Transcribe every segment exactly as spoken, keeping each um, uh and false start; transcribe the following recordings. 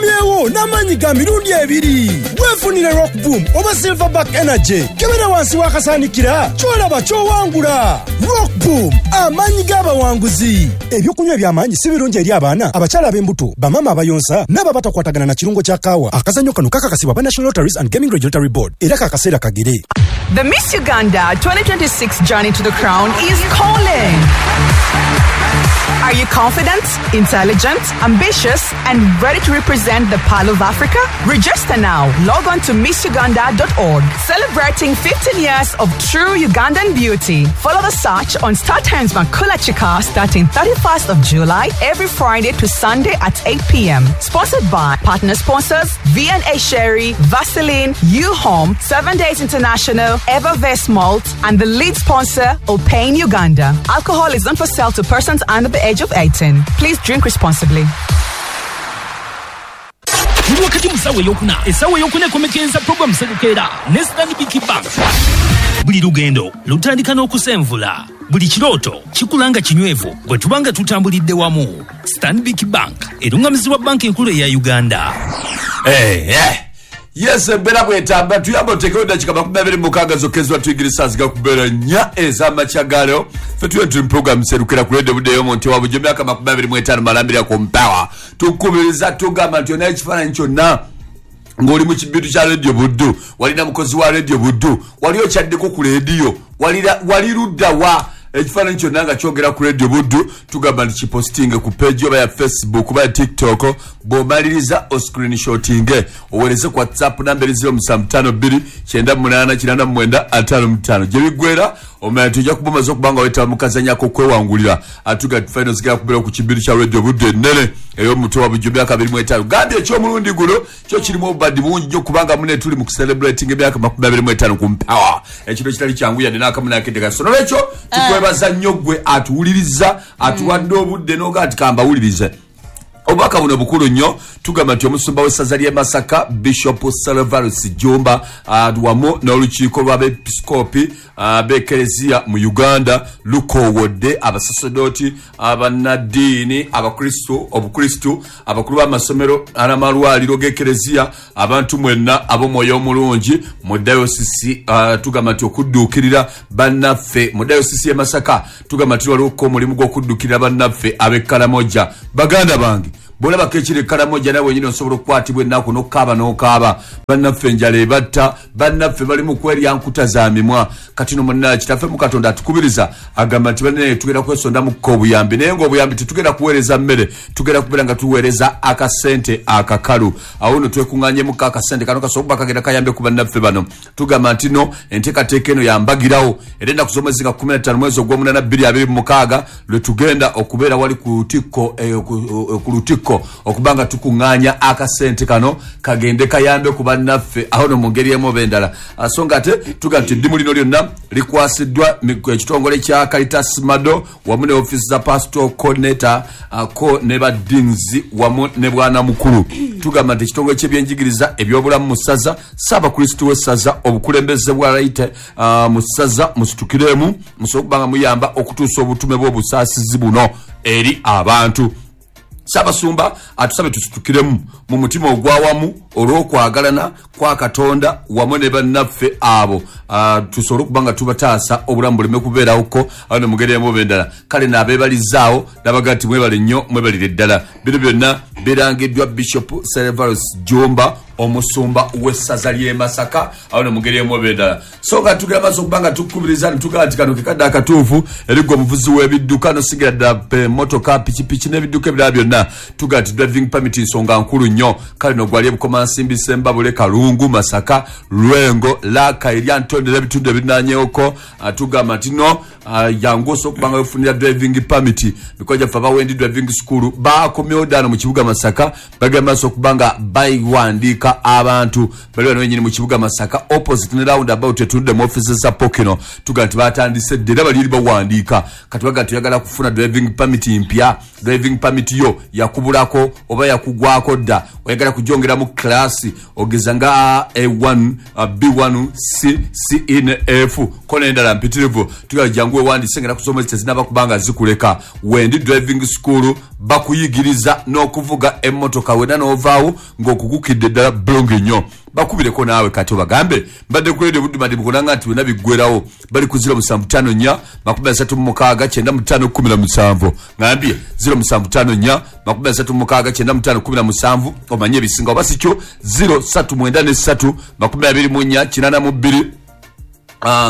Tukomyewo n'amaanyi ga mirundi ebiri. Weefunire Rock Boom oba Silverback Energy. Kebera wansi w'akasaanikira, ky'olaba ky'owangula. Rock Boom, amaanyi g'abawanguzi. Ebyokunywa eby'amaanyi si birungi eri abaana, abakyala ab'embuto, bamaama abayonsa n'abo abatakwatagana na kirungo kya kaawa. Akazannyo kano kakakasibwa ba National Lotteries and Gaming Regulatory Board era kakaseera kagere. The Miss Uganda twenty twenty-six Journey to the Crown is calling. Are you confident, intelligent, ambitious, and ready to represent the Pearl of Africa? Register now. Log on to miss uganda dot org. Celebrating fifteen years of true Ugandan beauty. Follow the search on StarTimes Makula Chika starting thirty-first of July, every Friday to Sunday at eight p m. Sponsored by partner sponsors V and A Sherry, Vaseline, U-Home, Seven Days International, Evervest Malt, and the lead sponsor, Opane Uganda. Alcohol is not for sale to persons under the age of eighteen. Please drink responsibly. Wakati musawo eyokuna esawo eyokuna ekomekereza program Serukeera ne Stanbic Bank. Buli lugendo lutandika n'okusenvula, buli kirooto kikula nga kinywevu bwe tuba nga tutambulidde wamu. Stanbic Bank erungamizibwa banka enkulu eya Uganda. Hey, eh. Yes, embeera bwetamba tuyamba otekewo eddakiika makumi abiri mu mukaaga zokka ezibatuyigiriza zigakubeera nnya ez'amakya ga leero. Ffe tuyo tuli mu program Serukera ku Radio Budde ey'omuntu wa bulijjo emyaka makumi abiri mu etaano malambira ku mpawa. Tukubiriza tugamba nti yonna ekifaananyi kyonna ng'oli mu kibitu kya Radio Buddu, walina mukozi wa Radio Buddu, wali okyaddeko ku leediyo, wali ludda wa ekifaananyi kyonna nga kyogera ku Radio Buddu, tugamba nti kipositinge ku page oba ya Facebook oba ya TikTok, bw'omaliriza oscreenshotinge oweereze ku WhatsApp namba eri zero musanvu ttaano bbiri kyenda munaana kinaana mwenda ataano mu ttaano. Gye biggweera omanya tujja kuba omaze okuba nga weetaba mu kazannyo ak'okwewangulira. Atuga finals zigenda kubeera ku kibiru kya Radio Buddu ennene ey'omutwe wa bulijjo emyaka abiri mu etaano. Gambye eky'omulundi guno kyo kirimu obubadi bungi nnyo kubanga mune tuli mu kucelebrating emyaka makumi abiri mu etaano ku mpawa. Ekiro kitali kyangu yadde n'akamu n'akedde. So nolwekyo tukwebaza nnyo ggwe atuwuliriza, atuwadde obudde n'oga nti kambawulirize. Obubaka buno bukulu nnyo. Tugamba nti omusumba w'essaza ly'e Masaka Bishop Servatus Jumba uh, wamu n'olukiiko lw'abeepisikoopi uh, b'Ekereziya mu Uganda lukoowodde abasaserdooti, abannaddiini, abakristu, obukristu, abakulu b'amasomero n'amalwaliro g'Ekereziya, abantu mwenna ab'omwoyo omulungi mu dayosisi. uh, tugamba nti okudduukirira bannaffe mu dayosisi y'e Masaka, tugamba nti waliwo omulimu gw'okudduukirira bannaffe ab'e Karamoja. Baganda bange, bw'olabako ekiri e Karamoja nawe wenyini osobola okukwatibwa ennaku n'okukaaba n'okaaba. Bannaffe enjala ebatta, bannaffe bali mu kwerya nkuta za mimwa. Kati no munna kitaffe mu Katonda atukubiriza agamba nti bannange tugenda kwesondamu obuyambi, naye ng'obuyambi tetugenda kuweereza mmere, tugenda kubeera nga tuweereza akasente akakalu. Awo nno twekuŋŋaanyemuko akasente kano kasobola okuba kagenda kayambe ku bannaffe bano. Tugamba nti no enteekateeka eno yambagirawo era ennaku z'omwezi nga kkumi na ttaano mwezi ogw'omunaana bbiri abiri mu mukaaga lwe tugenda okubeera wali ku lutikko ku lutikko okubanga tukuŋŋaanya akasente kano kagende kayambe ku bannaffe awo no mu ngeri emu oba endala. So nga ate tugamba nti eddimu lino lyonna likwasiddwa ekitongole kya Caritas Mado wamu ne ofiisi za Pastor Coordinator ko ne ba deans wamu ne bwana mukulu. Tugamba nti ekitongole ky'ebyenjigiriza ebyobulamu mu ssaza, Ssaabakristu w'essaza, obukulembeze bwa Laite mu ssaza musitukiremu musobole okuba nga muyamba okutuusa obutume bw'obusaasizi buno eri abantu. Ssaabasumba atusabe tusitukiremu mu mutima ogw'awamu olw'okwagalana kwa Katonda wamu ne bannaffe abo, uh, tusobole okuba nga tubataasa obulamu buleme kubeerawoko awo ne mugeri emu oba endala. Kale n'abeebalizaawo n'abaga nti mwebale nnyo, mwebalire ddala. Bino byonna birangiddwa Bishop Servatus Jumba omusumba w'essaza ly'e Masaka awo ne mugeri emu oba endala. So nga tugenda maaso okuba nga tukukubiriza ne tugamba nti kano ke kadde akatuufu eri ggwe omuvuzi w'ebidduka n'osigira ddala emmotoka, pikipiki n'ebidduka ebirala byonna. Tugamba nti driving permit nsonga nkulu nnyo. Kale no gwali e Bukomansimbi, Sembabule, Kalungu, Masaka, Lwengo, Laka, erya Ntonde n'ebitundu ebirinaanyeeko. Tugamba nti no jangu osobola okuba nga weefunira driving permit. Mikono gyaffe abawendi driving school bakomyewo ddaano mu kibuga Masaka, bagenda maaso okuba nga bayiwandiika. Okuwandiika abantu bali wano wenyini mu kibuga Masaka, opposite ne round about etudde mu offices za Pokino. Tuga nti batandise dde era bali bawandiika. Kati baga tuyagala kufuna driving permit mpya, driving permit yo yakubulako oba yakugwako dda, oyagala kujongera mu class ogeza nga A one, B one, C, C N F kona endala mpitirivu. Tuga jangu wewandise ngera kusoma tezinaba kubanga zikuleka. Wendi driving school bakuyigiriza n'okuvuga emmotoka wena n'ovaawo ng'okugukidde ddala bulungi nnyo. Bakubireko naawe kati obagambe mbadde ku Radio Buddu madi mukulanga nti wena biggwerawo. Bali ku zero musanvu ttaano nnya makumi asatu mu mukaaga kyenda mu ttaano kkumi na musanvu. Ngambye zero musanvu ttaano nnya makumi asatu mu mukaaga kyenda mu ttaano kkumi na musanvu. Omanye ebisinga oba si kyo zero ssatu mwenda ne ssatu makumi abiri mu nnya kinaana mu bbiri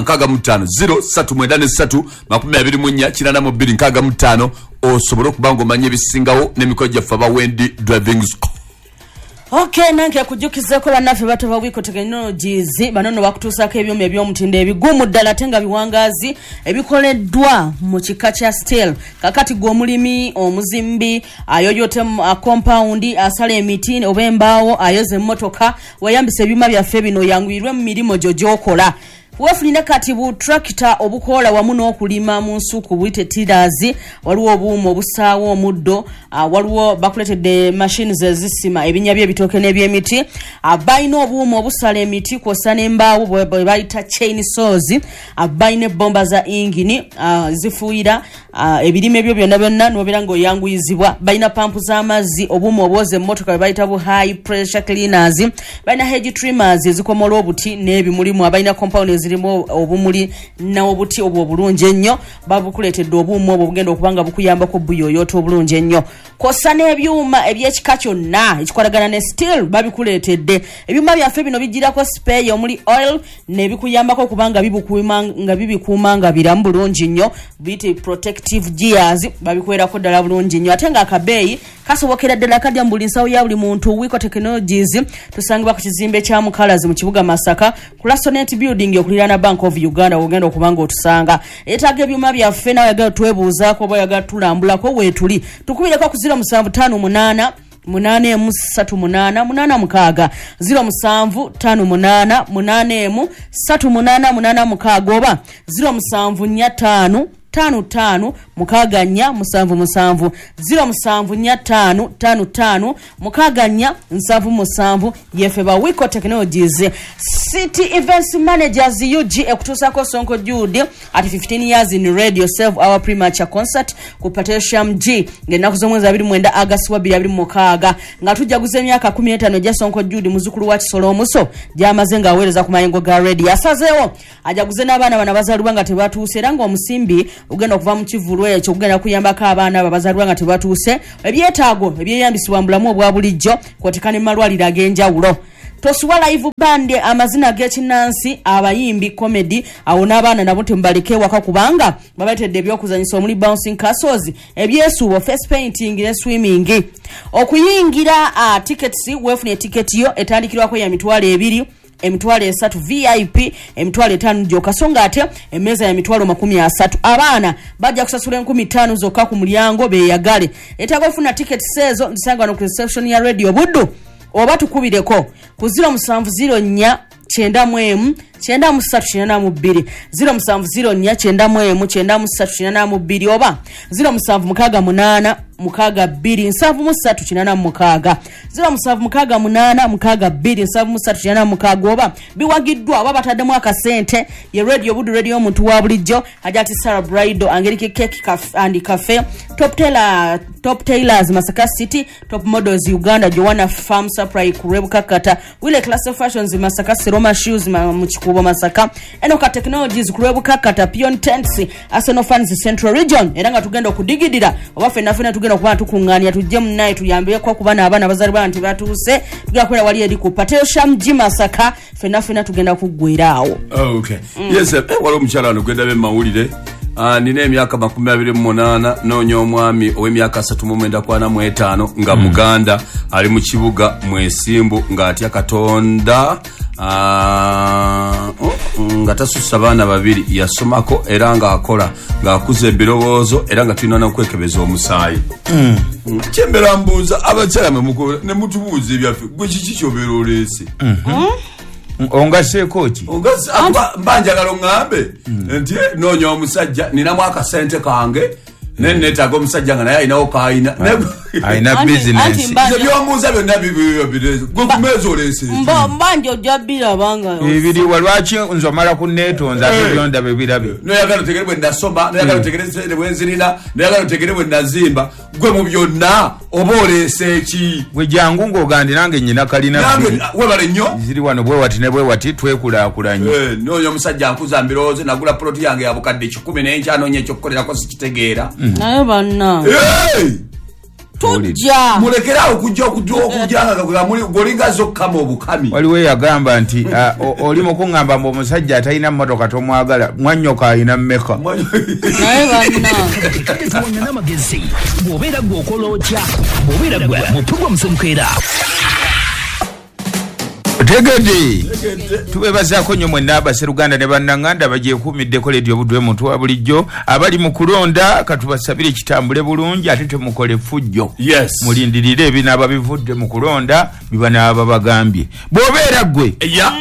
nkaaga mu ttaano zero ssatu mwenda ne ssatu makumi abiri mu nnya kinaana mu bbiri nkaaga mu ttaano osobole okuba ng'omanya ebisingawo n'emikolo gyaffe aba Wendi Driving School. Okay, nange kujukizeko bannaffe batova Wiko Technologies banono bakutuusako ebyuma eby'omutindo ebigumu ddala ate nga biwangaazi ebikoleddwa mu kika kya steel. Kakati gwe omulimi, omuzimbi, ayoyote compound, asala emiti oba embaawo, ayoza emmotoka, weeyambisa ebyuma byaffe bino yanguyirwe mu mirimu gyo gy'okola. Wefunire kati bu tractor obukola wamu n'okulima mu nsuku buyite tillers, waliwo obuuma obusaawo omuddo, uh, waliwo bakuleetedde machines ezisima ebinnya by'ebitooke n'ebyemiti, balina obuuma obusala emiti kw'ossa n'embaawo bwe bayita chain saws, balina ebbomba za ingini uh, zifuuyira uh, ebirime ebyo byonna byonna n'obeera ng'oyanguyizibwa, balina pampu z'amazzi, obuuma obwoza emmotoka bwe bayita bu high pressure cleaners, balina hedge trimmers ezikomola obuti n'ebimulimu, abalina compound zirimu obumuli n'obuti obwo obulungi ennyo, babukuleetedde obuuma obwo obugenda okuba nga bukuyambako buyoyoota obulungi ennyo. Kw'ossa n'ebyuma eby'ekika kyonna ekikolagana ne steel babikuleetedde. Ebyuma byaffe bino bijjirako spare omuli oil n'ebikuyambako okuba nga bibukuuma nga bibikuuma nga biramu bulungi nnyo, biyite protective gears, babikwerako ddala bulungi nnyo ate ng'akabeeyi kasobokera ddala kadya mu buli nsawo ya buli muntu. Wiko Technologies tusangibwa ku kizimbe kya Mukalazi mu kibuga Masaka ku Lasonet Building okuliraana Bank of Uganda ogenda okuba ng'otusanga. Etaaga ebyuma byaffe nawe oyagala twebuuzaako oba oyagala tulambulako weetuli, tukubireko ku zero musanvu ttaano munaana munaana emu ssatu munaana munaana mukaaga zero musanvu ttaano munaana munaana emu ssatu munaana munaana mukaaga oba zero musanvu nnya ttaano ttaano ttaano mukaaga nnya musanvu musanvu zero musanvu nnya ttaano ttaano ttaano mukaaga nnya nsanvu musanvu. Yefe ba Wiko Technologies. City Events Managers U G ekutuusako Sonko Jude at fifteen years in radio save our premature concert ku Patricium G ng'ennaku z'omwezi abiri mwenda August wa bbiri abiri mu mukaaga nga tujaguza emyaka kkumi n'etaano egya Sonko Jude muzzukulu wa Kisolo Omuso gy'amaze ng'aweereza ku mayengo ga radio. Asazeewo ajaguze n'abaana bano abazaalibwa nga tebatuuse era ng'omusimbi ogenda okuva mu kivvulu ekyo ogenda kuyambako abaana abo abazaalibwa nga tebatuuse ebyetaago ebyeyambisibwa mu bulamu obwa bulijjo kw'oteeka ne mu malwaliro ag'enjawulo. Tosuwa live band amazina g'ekinnansi, abayimbi comedy, awo n'abaana nabo temubaleke waka kubanga babaletedde ebyokuzanyisa omuli bouncing castles, ebyesuubo, face painting ne swimming. Okuyingira uh, tickets, weefune tiketi yo etandikirwako ya mitwalo ebiri, emitwalo esatu V I P, emitwalo etaano gyokka, so ng'ate emmeeza ya mitwalo makumi asatu. Abaana bajja kusasula enkumi ttaano zokka ku mulyango beeyagale. Etaaga okufuna tickets ezo nzisanga wano ku reception ya Radio Buddu oba tukubireko ku zero musanvu zero nnya kyenda mu emu kyenda mu ssatu kyenda mu bbiri zero musanvu zero nnya kyenda mu emu kyenda mu ssatu kyenda mu bbiri oba zero musanvu mukaaga munaana mukaaga bbiri nsanvu mu ssatu kinaana mu mukaaga zero musanvu mukaaga munaana mukaaga bbiri nsanvu mu ssatu kinaana mu mukaaga oba biwagiddwa oba bataddemu akasente. Ye Radio Buddu, radio omuntu wa bulijjo, Hajati Sarah Brido, Angelique Cake and Cafe, Top Tailor, Top Tailors Masaka City, Top Models Uganda, Joanna Farm Supply Kurebukakata, Wile Class of Fashions Masaka, Seroma Shoes mu Kikuubo Masaka, Enoka Technologies Kurebukakata, Pion Tents, Arsenal Fans Central Region. Era nga tugenda okudigidira oba ffenna ffenna tugenda okuba tukuŋŋaanya tujje munnaye tuyambeko kuba n'abaana abazaalibwa nti batuuse, tugenda kubeera wali eri ku Patricium G Masaka, ffenna ffenna tugenda kuggwera awo. Okay. Mm. Yes, eh, waliwo omukyala wano gwe ndaba mawulire. Ah, nina emyaka makumi abiri mu munaana noonya omwami ow'emyaka asatu mu mwenda ku ana mu etaano nga Muganda, ali mu kibuga Mwesimbu ng'atya Katonda. Ah, oh. Nga tasussa baana babiri, yasomako era ng'akola, ng'akuza ebirowoozo era nga tulina n'okwekebeza omusaayi. Mm. Kyembeera mbuuza abakyala mwe mukola ne mutubuuza ebyaffe, gwe kiki ky'obeera oleese? Mm-hmm. Ongaseeko ki? Ongase mba njagala oŋŋambe nti noonya omusajja ninamu akasente kange naye neetaaga omusajja nga naye alinawo k'alina. Alina bizinensi. Nze by'ombuuza byonna bibireese. Gwe ku mmeeza oleese ki? Mba nti ojja biraba nga ebiriwa lwaki nze omala kunneetonza ate byondaba birabe. Noyagala otegere bwe nasoma, noyagala otegere ssente bwe nzirina, noyagala otegere bwe nazimba. Gwe mu byonna oba oleese ki? Gwe jangu ng'ogandi nange nnyina kalina. Nange webale nnyo. Ziri wano bwe wati ne bwe wati twekulaakulanye. Noonya omusajja ankuza mbirowoozo, nagula poloti yange ya bukadde kikumi naye nkyanoonya ekyokukolerako sikitegeera. Naye banna. Tujja. Mulekere awo okujja okujja okujja nga golinga zokkama obukami. Waliwo eyagamba nti oli mu kuŋŋamba mbu omusajja atalina mmotoka tomwagala, mwannyoko alina mmeka. Naye banna. Kale tuwangana n'amagezi. Bw'obeera gwe okola otya? Bw'obeera gwe mu pulogulaamu Semukeera. Tegedde. Tubeebazaako nnyo mwenna abaseruganda ne bannanganda bagyekuumiddeko leediyo Buddu muntu wa bulijjo abali mu kulonda, katubasabire kitambule bulungi ate temukole ffujjo. Yes. Mulindirire ebinaaba bivudde mu kulonda bibanaaba bagambye. Bw'obeera ggwe yeah.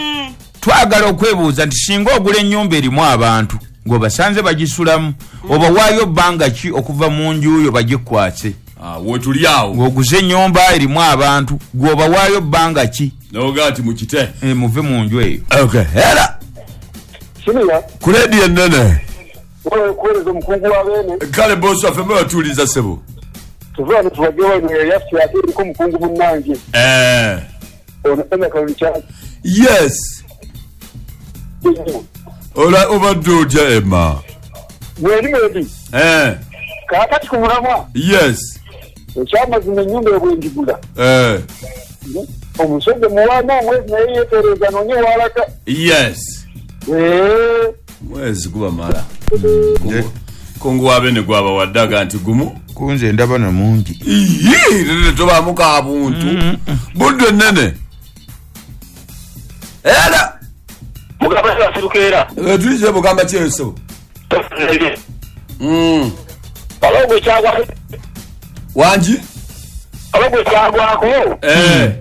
Twagala okwebuuza nti singa ogula ennyumba erimu abantu ng'obasanze bagisulamu oba waayo bbanga ki okuva mu nju yo bagikwase? Ah, wetuli awo. Ng'oguze ennyumba erimu abantu gw'oba waayo bbanga ki? Noga ati mukite. Eh, muve mu nju eyo. Okay. Era. Simiya. Ku leediyo ennene. Wewe kuweereza omukungu wa Beene. Kale bosi waffe mwe batuuliza ssebo. Tuva wano tubajje wano eyaffe ate eriko omukungu munnange. Eh. Ono Emma Kalungi. Yes. Ola obadde otya Emma? Mweri mweri. Eh. Kaakati ku mulamwa. Yes. Ekyamazima ennyumba ebwenjigula. Eh. Omusajja muwaana omwezi naye yeetereeza noonye w'alaga. Yes. Eh. Mwezi gubamala. Kungu wa Beene gwabawadde aga nti gumu. Kunze ndaba na mungi. Iyii, tobaamu ka buntu. Buddu ennene. Era. Mugamba Serukeera. Tulize mugamba ki eso? Mm. Abagwe kyagwa. Wangi? Abagwe kyagwako. Eh.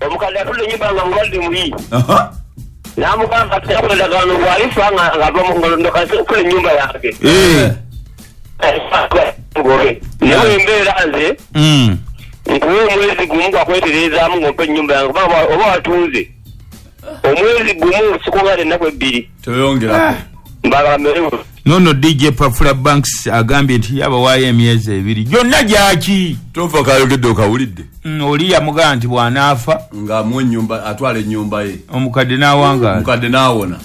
Omukadde atudde ennyumba nga mulwadde mubi. Aha. N'amugamba ati yakola endagaano bw'alifa nga ng'ava mu ngalo ndokase okukola ennyumba yange. Eh. Ngobe. Naye embeera nze. Mm. Nkuwa omwezi gumu gwakwetereezaamu ng'ompa ennyumba yange kubanga oba watunze. Omwezi gumu sikugala ennaku ebbiri. Toyongerako. Mbagala mmere. Nono D J Pafula Banks agambye nti yabawaayo emyezi ebiri gyonna gyaki? Tofa kayogedde okawulidde. Mm, oli yamugamba nti bw'anaafa ng'amuwa ennyumba, atwala ennyumba ye. Omukadde n'awangaala. Omukadde n'awona.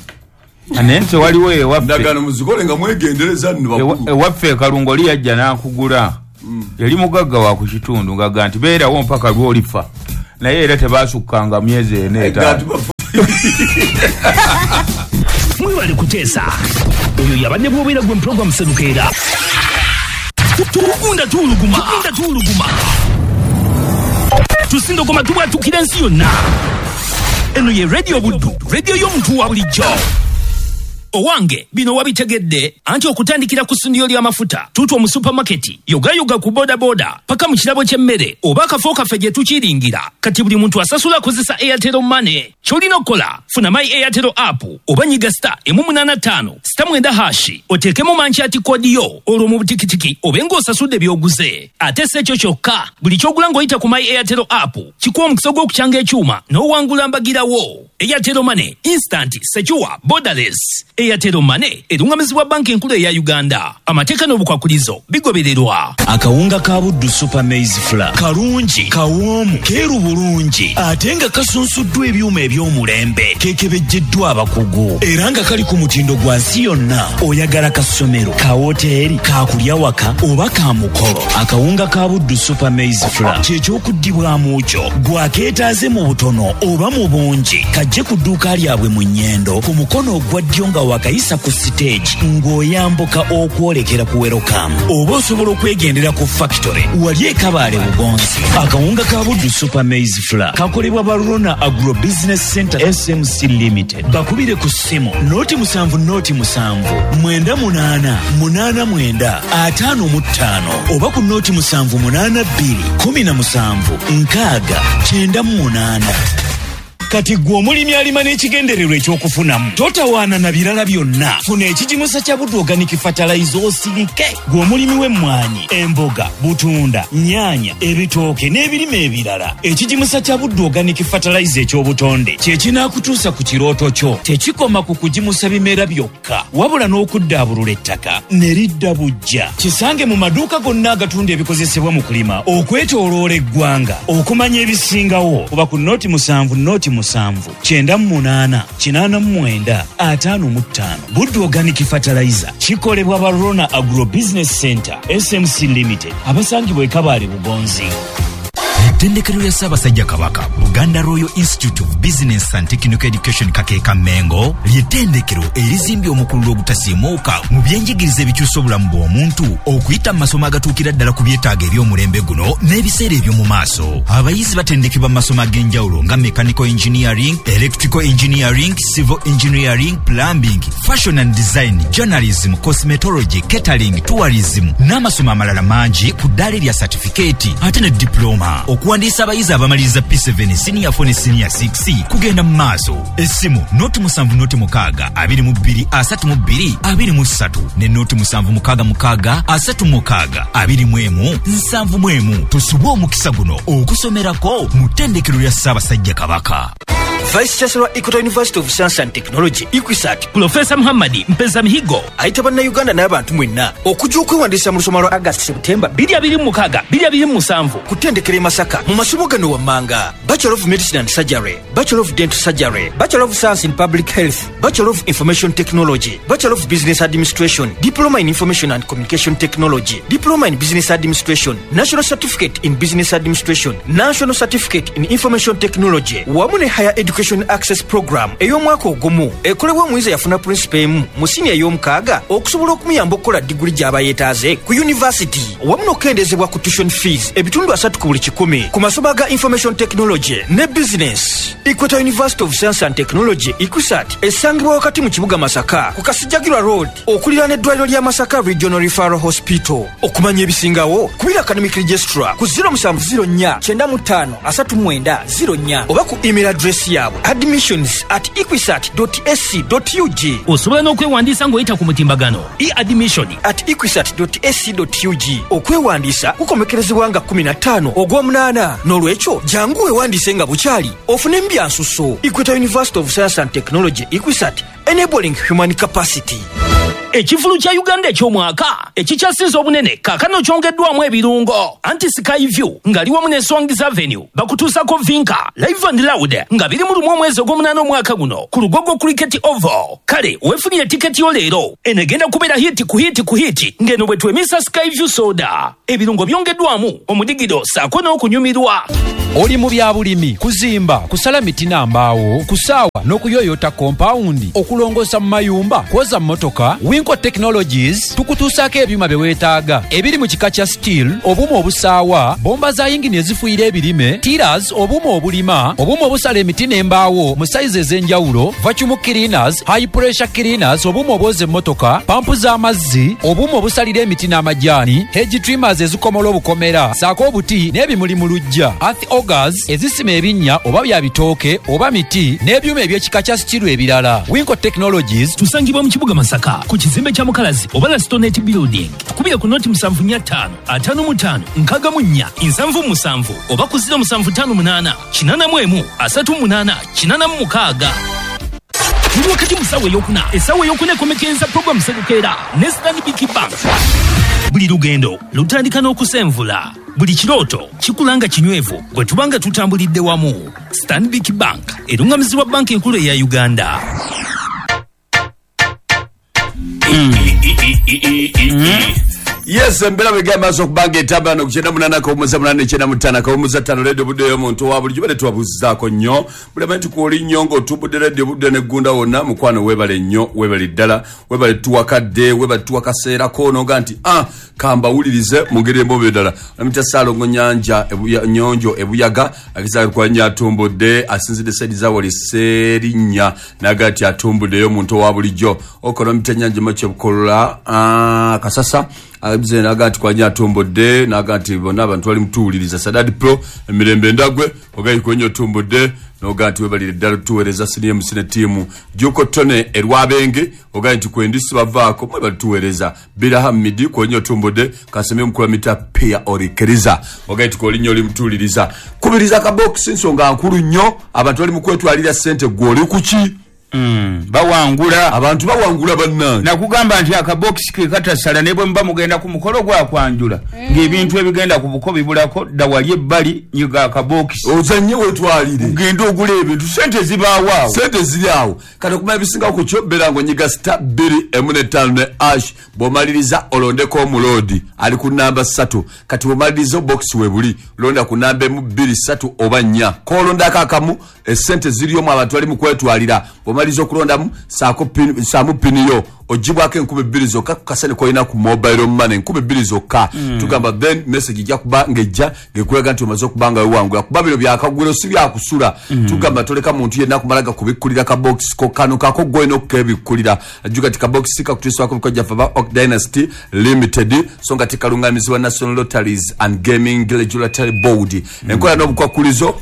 Naye nti waliwo ewaffe. Endagaano muzikole nga mwegendereza nno bakulu. Ewaffe e Kalungu oli yajja n'akugula. Mm. Yali mugagga wa ku kitundu ng'agamba nti beerawo mpaka lw'olifa. Naye era tebaasukkanga myezi ena etaano. Mwebale kuteesa. Oyo yabadde bw'obeera gwe mu pulogulaamu Serukeera. Tugunda tuwuluguma. Tugunda tuwuluguma. Tusindogoma tubwatukira ensi yonna. Eno ye Radio Buddu, radio y'omuntu wa bulijjo. Owange bino wabitegedde anti okutandikira ku ssundiro ly'amafuta tuutwa mu supamaketi yogayoga ku bodaboda paka mu kirabo ky'emmere oba akafo kaffe gye tukiringira. Kati buli muntu asasula akozesa Airtel Money. Ky'olina okukola funa My Airtel app oba nyiga star emu munaana ttaano star mwenda hashi oteekemu mankyati kodi yo olwo mu butikitiki obe ng'osasudde by'oguze. Ate si ekyo kyokka, buli ky'ogula ng'oyita ku My Airtel app kikuwa omukisa gw'okukyanga ekyuma n'owangula mbagirawo. Airtel Money, instant, secure, borderless. Airtel Money erungamizibwa banki enkulu eya Uganda. Amateeka n'obukwakulizo bigobererwa. Akawunga ka Buddu Super Maize Flour kalungi, kawoomu, keeru bulungi ate nga kasunsuddwa ebyuma eby'omulembe, kekebejjeddwa abakugu era nga kali ku mutindo gwa nsi yonna. Oyagala kasomero, ka woteeri, ka kulya waka oba ka mukolo, akawunga ka Buddu Super Maize Flour kyekyokuddibwamu kyo gwakeetaaze mu butono oba mu bungi. Kajje ku dduuka lyabwe mu Nnyendo ku mukono ogwa ddyo nga wakayisa ku siteegi ng'oyambuka okwolekera ku Welcome, oba osobola okwegendera ku factory wali e Kabaale Bugonzi. Akawunga ka Buddu Super Maize Flour kakolebwa Barona Agro Business Center S M C Limited. Bakubire ku ssimu noti musanvu noti musanvu mwenda munaana munaana mwenda ataano mu ttaano oba ku noti musanvu munaana bbiri kumi na musanvu nkaaga kyenda mu munaana. Kati gwe omulimi alima n'ekigendererwa ekyokufunamu, totawaana na birala byonna. Funa ekigimusa kya Buddu Organic Fertilizer osirike. Gwe omulimi w'emmwanyi, emboga, butunda, nnyaanya, ebitooke n'ebirime ebirala, ekigimusa kya Buddu Organic Fertilizer eky'obutonde kye kinaakutuusa ku kirooto kyo. Tekikoma ku kugimusa bimera byokka, wabula n'okuddaabulula ettaka ne lidda buggya. Kisange mu maduuka gonna agatunda ebikozesebwa mu kulima okwetooloola eggwanga. Okumanya ebisingawo kuba ku noti musanvu noti musanvu kyenda mu munaana kinaana mu mwenda ataano mu ttaano. Buddu Organic Fertilizer kikolebwa Barona Agro Business Center S M C Limited, abasangibwa e Kabaale Bugonzi. Ettendekero lya Ssaabasajja Kabaka, Buganda Royal Institute of Business and Technical Education Kakeeka Mengo, ly'ettendekero erizimbye omukululo ogutasiimuuka mu byenjigiriza ebikyusa obulamu bw'omuntu okuyita mu masomo agatuukira ddala ku byetaago eby'omulembe guno n'ebiseera eby'omu maaso. Abayizi batendekebwa mu masomo ag'enjawulo nga mechanical engineering, electrical engineering, civil engineering, plumbing, fashion and design, journalism, cosmetology, catering, tourism n'amasomo amalala mangi ku ddaala erya certificate ate ne diploma. Okuwandiisa abayizi abamaliriza P seven, senior four ne senior six kugenda mu maaso. Essimu noti musanvu noti mukaaga abiri mu bbiri asatu mu bbiri abiri mu ssatu ne noti musanvu mukaaga mukaaga asatu mukaaga abiri mu emu nsanvu mu emu. Tusubwe omukisa guno okusomerako mu ttendekero lya Ssaabasajja Kabaka. Vice Chancellor Equator University of Science and Technology EQUISAT Professor Muhammad Mpeza Mihigo ayita bannayuganda n'abantu mwenna okujja okwewandiisa mu lusoma lwa August September bbiri abiri mu mukaaga bbiri abiri mu musanvu ku ttendekero e Masaka mu masomo gano wammanga: Bachelor of Medicine and Surgery, Bachelor of Dental Surgery, Bachelor of Science in Public Health, Bachelor of Information Technology, Bachelor of Business Administration, Diploma in Information and Communication Technology, Diploma in Business Administration, National Certificate in Business Administration, National Certificate in Information Technology wamu ne Higher Education Access Program ey'omwaka ogumu ekolebwa omuyizi yafuna principal emu mu siniya ey'omukaaga okusobola okumuyamba okukola diguli gy'aba yeetaaze ku university, wamu n'okukendeezebwa ku tuition fees ebitundu asatu ku buli kikumi ku masomo aga Information Technology ne Business. Equator University of Science and Technology EQUISAT esangibwa wakati mu kibuga Masaka ku Kasijjagirwa Road okuliraana eddwaliro lya Masaka Regional Referral Hospital. Okumanya ebisingawo kubira academic registrar ku zero musanvu zero nnya kyenda mu ttaano asatu mwenda zero nnya oba ku email address yaabwe admissions at equisat dot a c dot u g. Osobola n'okwewandiisa ng'oyita ku mutimbagano e-admission at equisat dot a c dot u g. Okwewandiisa kukomekerezebwa nga kkumi na ttaano ogw'omunaana. N'olwekyo jangu weewandiise nga bukyali ofune mbyansuso. Equator University of Science and Technology EQUISAT, enabling human capacity. Ekivulu kya Uganda eky'omwaka ekikyasinze obunene kaakano kyongeddwamu ebirungo. Anti Sky View ng'ali wamu ne Swangz Avenue bakutuusako Vinka Live and Loud nga biri mu lumu omwezi ogw'omunaana omwaka guno ku Lugogo Cricket Oval. Kale weefunire tiketi yo leero, eno egenda kubeera hiti ku hiti ku hiti ng'eno bwe twemisa Sky View soda. Ebirungo byongeddwamu omudigido ssaako n'okunyumirwa. Oli mu bya bulimi, kuzimba, kusala miti na mbaawo, kusaawa n'okuyoyota kompawundi, okulongoosa mu mayumba, kwoza mmotoka. Winco Technologies tukutuusaako ebyuma bye weetaaga ebiri mu kika kya steel, obuuma obusaawa, bomba za yingini ezifuuyira ebirime, tillers, obuuma obulima, obuuma obusala emiti n'embaawo mu sayizi ez'enjawulo, vacuum cleaners, high pressure cleaners, obuuma obwoza emmotoka, pampu z'amazzi, obuuma obusalira emiti n'amajaani, hedge trimmers ezikomola obukomera, ssaako obuti n'ebimuli mu luggya, earth augers ezisima ebinnya oba bya bitooke oba miti n'ebyuma eby'ekika kya steel ebirala. Winco Technologies tusangibwa mu kibuga Masaka ku kizimbe kya Mukalazi oba Lastonet Building. Tukubire ku noti musanvu nnya ttaano ataano mu ttaano nkaaga mu nnya nsanvu musanvu oba ku ziro musanvu ttaano munaana kinaana mu emu asatu munaana kinaana mu mukaaga. Tuli wakati mu ssaawa ey'okuna. Essaawa ey'okuna ekomekereza program Serukeera ne Stanbic Bank. Buli lugendo lutandika n'okusenvula. Buli kirooto kikula nga kinywevu bwe tuba nga tutambulidde wamu. Stanbic Bank erungamizibwa banki enkulu eya Uganda. Mm. Yes, embeera bwegamba maaso okubanga etambula nokukyenda munaana kawumuza munaana ekyenda mu ttaano kawumuza ttaano leediyo budde ey'omuntu owa bulijjo bade tubabuuzizaako nnyo buli amanyi tukwoli nnyo ng'otumbudde leediyo budde neggunda wonna mukwano weebale nnyo weebale ddala weebale tuwakadde weebale tuwakaseerako noga nti ah kambawulirize mu ngeri emboobe ddala namita Ssaalongo Nyanja ebuya, Nyonjo ebuyaga agezaako nnyo atumbudde asinzidde saidi zawali Sserinnya naga nti atumbuddeyo omuntu owa bulijjo okonomita Nyanja Makyebukolola ah, Kasasa abize naga nti kwanya atumbudde naga nti bonna abantu bali mutuwuliriza Sadad Pro emirembe ndagwe ogayi kwenyo otumbudde noga nti webalire ddala tuweereza siniye musine tiimu Juko Tone erwabenge ogayi nti kwendisi bavaako mwe balituweereza Biraham Midi kwenyo otumbudde Kaseme mukula mita Pia Orikeriza ogayi nti kolinyo oli mutuwuliriza kubiriza ka box nsonga nkulu nnyo abantu bali mu kwetwalira ssente gwe oli kuki Mm, bawangula abantu bawangula bannange nakugamba nti akabokisi ke katasala ne bwe muba mugenda ku mukolo gwa kwanjula mm. ng'ebintu ebigenda ku buko bibulako dda wali ebbali nyiga akabokisi ozannye wetwalire ugende ogula ebintu sente zibaawo awo sente ziri awo kati okumanya ebisinga ku kyo beera ng'onyiga star bbiri emu n'ettaano ne ash bw'omaliriza olondeko omuloodi ali ku namba ssatu kati bw'omaliriza obokisi we buli londa ku namba emu bbiri ssatu oba nnya koolondako akamu esente ziriyomu abantu bali mu kwetwalira bw'omaliriza okulondamu saako pin- saamu pini yo ogibwako enkumi bbiri zokka ku kasente k'olina ku mobile money enkumi bbiri zokka mm. tugamba then message ejja kuba ng'ejja ng'ekulaga nti omaze okuba nga wewangula kuba bino byakagwiro si byakusula mm. tugamba toleka muntu yenna kumala gakubikkulira kabokisi ko kano kako gw'olina okukebikkulira ajjuka ti kabokisi kakutuusibwako bikojjaffe aba Oak Dynasty Limited so nga tikaluŋŋamizibwa National Lotteries and Gaming Regulatory Board mm. enkola n'obukwakulizo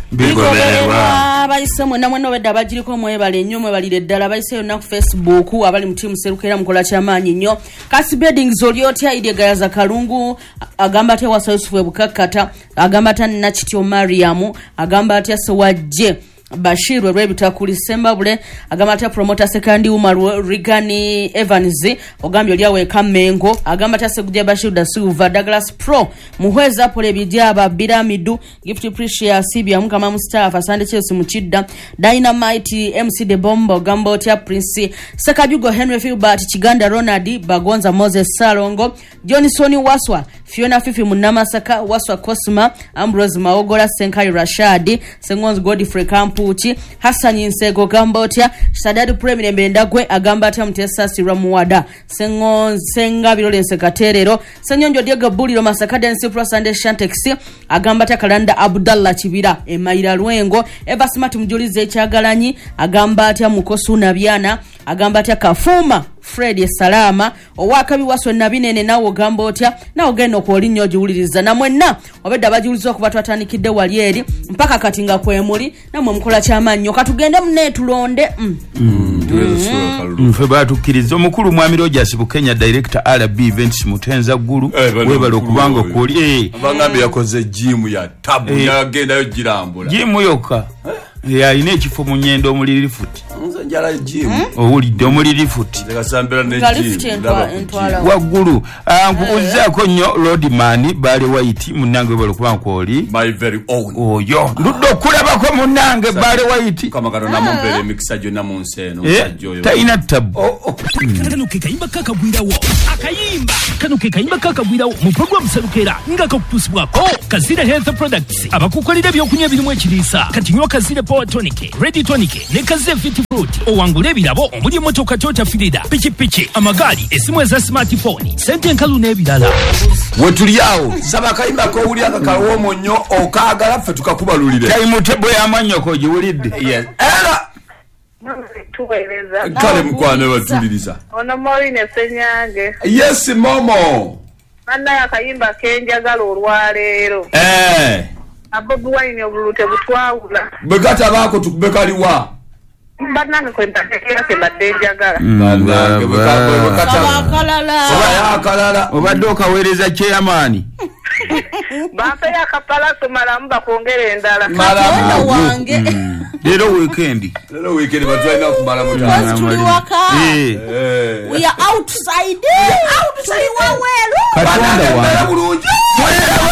bigobererwa abayise mwenna mwenna obedda abagiriko mwebale nnyo mwebalire ddala abayise yonna ku Facebook abali mu tiimu Serukera mukola kyamaanyi nnyo Kasi Beddings oli otya Idie Gayaza Kalungu agamba atya Wasa Yusufu Ebukakkata agamba atya Nakityo Mariamu agamba atya Sewajje Bashir Rwebitakuli Sembabule agamba atya promoter Sekandi Umar Rigani Evans ogambye oli awe Kamengo agamba atya Segujja Bashir da Silva Douglas Pro Muhweza Pole Bidyaba Biramidu Gift Precious Sibia Mukama Mustafa Sande Chelsea Muchidda Dynamite M C De Bombo ogamba otya Prince Sekajugo Henry Filbert Kiganda Ronald Bagonza Moses Salongo Johnson Waswa Fiona Fifi Munamasaka Waswa Cosma Ambrose Maogola Senkai Rashad Sengonzi Godfrey Kampu Uchi Hassan Nsego gamba otya Sadadu Premier Mbendagwe agamba atya Mutesa Sirwa Muwada Sengo Senga Birolense Katerero Senyonjo Diego Buliro Masaka Dance Plus and Shantex agamba atya Kalanda Abdallah Kibira Emaira Lwengo Eva Smart Mjulize Kyagalanyi agamba atya Mukosu Nabyana agamba atya Kafuma Fred Salama owakabi waswe nabinene nawo gamba otya nawo genda okwolinyo ogiwuliriza namwenna obedda abagiwuliza okuba twatandikidde wali eri mpaka kati nga kwemuli namwe mukola kyamaanyi katugende munne tulonde mm. mm. nfe batukkiriza omukulu mwami Rogers Bukenya director R B Events Mutenza Ggulu webale okubanga okwoli abangambye yakoze gym ya tabu yagendayo girambula gym yokka alina ekifo mu nyendo omuli lifuti nze njala gym owulidde omuli lifuti nze kasambira ne gym waggulu nkubuuzaako nnyo Lordman Bale White munnange webale okuba nkwoli my very own oyo ndudde okulabako munnange Bale White Mukama Katonda amumpeere emikisa gyonna mu nsi eno omusajja oyo talina tabu kano ke kayimba kakagwirawo akayimba kano ke kayimba kakagwirawo mu program Serukera nga kakutuusibwako Kazira Health Products abakukolera ebyokunywa ebirimu ekiriisa kati nywa Kazira Power Tonic, Ready Tonic ne Kazira Fit Fruit owangule ebirabo omuli emmotoka Toyota Firida pikipiki amagaali essimu eza smartphone sente enkalu n'ebirala wetuli awo saba akayimba k'owulira nga kawoomo nnyo okaagala ffe tukakubalulire tayimutebo y'amannyoko ogiwulidde Yes. Era tuweereza kale mukwano batuliriza ono Maureen Ssenyange yes momo bannaye akayimba kenjagala olwaleero eh Bobi Wine obululu tebutwawula bwe katabaako tukube kaliwa bannange kwe mbategeera kye mbadde njagala bannange bwe kataba akalala akalala obadde okaweereza chairman bampeyo akapalaso malamu bakwongera endala katonda wange leero weekend leero weekend batulina kumala Because tuli waka Eh. we are outside tuli waweru katonda mutano wange bulungi mweraba